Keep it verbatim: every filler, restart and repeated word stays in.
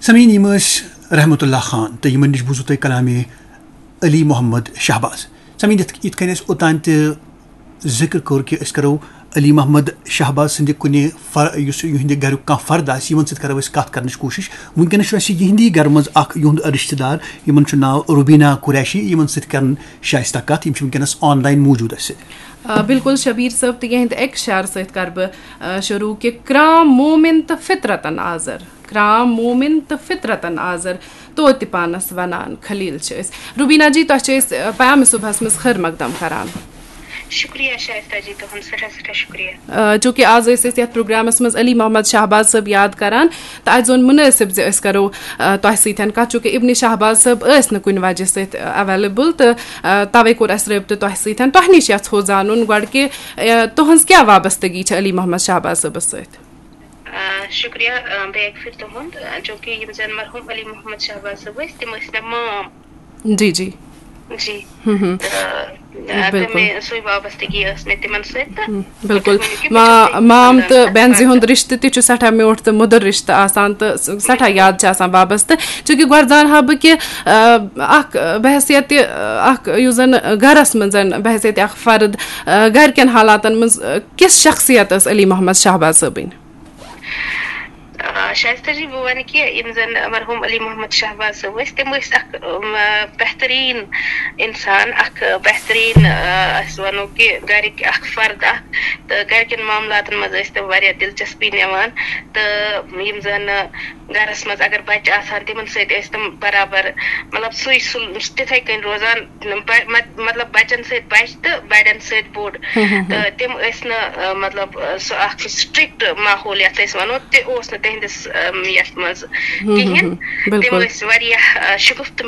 سمعین، یِم ٲسۍ رحمت اللہ خان تہٕ یِمن نِش بوٗزوٕ تۄہہِ کلامِ علی محمد شہباز۔ سمعین، یِتھ یِتھ کٔنۍ اَسہِ اوٚتام تہِ ذِکر کوٚر کہِ أسۍ کرو علی محمد شہباز سٕنٛدِ کُنہِ فر یُس یِہنٛدِ گریُک کانٛہہ فرد آسہِ، یِمن سۭتۍ کرو أسۍ کتھ کرنٕچ کوٗشِش۔ وٕنکیٚنس چھُ اَسہِ یِہنٛدی گرٕ منٛز اکھ یِہُنٛد رشتہٕ دار، یِمن چھُ ناو روبینا قریشی، یِمن سۭتۍ کرن شائستہ کتھ۔ یِم چھِ وٕنکیٚنس آن لاین موٗجوٗد اَسہِ سۭتۍ۔ آ، بِلکُل شبیٖر صٲب، تہٕ یِہنٛدِ اَکہِ شعرٕ سۭتۍ کرٕ بہٕ، آ، شروٗع کہِ کرام مومِن تہٕ فطرتن آزر، کرام مومِن تہٕ فطرتن آزر، توتہِ پانس ونان خلیل چھِ أسۍ۔ روبینا جی، تۄہہِ چھِ أسۍ، آ، پیام صبحس منٛز خٲر مقدم کران۔ شُکریہ شائستہ جی، تُہُنٛد سٮ۪ٹھاہ سٮ۪ٹھاہ شُکریہ۔ آ، چوٗنٛکہِ آز ٲسۍ أسۍ یَتھ پروگرامَس منٛز علی محمد شہباز صٲب یاد کران، تہٕ اَسہِ زون مُنٲسِب زِ أسۍ کرو، آ، تۄہہِ سۭتۍ کَتھ، چوٗنٛکہِ ابن شہباز صٲب ٲسۍ نہٕ کُنہِ وجہ سۭتۍ، آ، اویلیبل، تہٕ، آ، تَوَے کوٚر اَسہِ رٲبطہٕ تۄہہِ سۭتۍ۔ تۄہہِ نِش یَژھو زانُن گۄڈٕ کہِ، آ، تُہٕنٛز کیٛاہ وابستگی چھِ علی محمد شہباز صٲبَس سۭتۍ؟ آ، شُکریہ، آ، بیٚیہِ اَکہِ پھِرِ تُہُنٛد، آ، چوٗنٛکہِ یِم زَن مرحوٗم علی محمد شہباز صٲب ٲسۍ، تِم ٲسۍ مےٚ مام۔ جی، جی۔ جی۔ ہم، ہم۔ تہٕ، آ، تہٕ بِلکُل۔ مےٚ سُے وابستگی ٲس مےٚ تِمن سۭتۍ تہٕ ہم، بِلکُل۔ تُہۍ ؤنِو کہِ مےٚ ما-، چھُ سُے مام خاندان تہٕ اَتھ بٮ۪نزِ منٛز۔ ہُنٛد رِشتہٕ تہِ چھُ سٮ۪ٹھاہ میوٗٹھ تہٕ مُدُر رِشتہٕ آسان تہٕ س-، سٮ۪ٹھاہ یاد چھِ آسان بابس تہٕ۔ چوٗنٛکہِ گۄڈٕ زانہٕ ہا بہٕ کہِ، آ، اکھ، آ، بحیثیت، آ، اکھ یُس زن گرس منٛز بحیثیت اکھ فرد، آ، گرِکٮ۪ن حالاتن منٛز، آ، کِژھ شخصیت ٲس علی محمد شہباز صٲبٕنۍ؟ آ، شائستہ جی، بہٕ وَنہٕ کہِ یِم زَن مرحوٗم علی محمد شہباز صٲب ٲسۍ، تِم ٲسۍ اَکھ، اَم، بہتریٖن اِنسان، اَکھ بہتریٖن، آ، أسۍ وَنو کہِ گَرِکۍ اَکھ فرد اَکھ، تہٕ گَرِکٮ۪ن معاملاتَن منٛز ٲسۍ تِم واریاہ دِلچَسپی نِوان۔ تہٕ یِم زَن گَرَس منٛز اگر بَچہٕ آسان، تِمَن سۭتۍ ٲسۍ تِم برابر، مطلب، سُے سُل-، تِتھَے کٔنۍ روزان۔ بَ-، مط-، مطلب، بَچَن سۭتۍ بَچہٕ تہٕ بَڑٮ۪ن سۭتۍ بوٚڑ۔ ہم، ہم، ہم۔ تہٕ تِم ٲسۍ نہٕ، آ، مطلب، آ، سُہ اَکھ سُہ strict ماحول یَتھ أسۍ وَنو، تہِ اوس نہٕ تِہِنٛدِس، آم، یَتھ منٛز ہم، ہم، کِہیٖنۍ۔ ہم۔ تِم بِلکُل۔ ٲسۍ واریاہ، آ، شگفتہٕ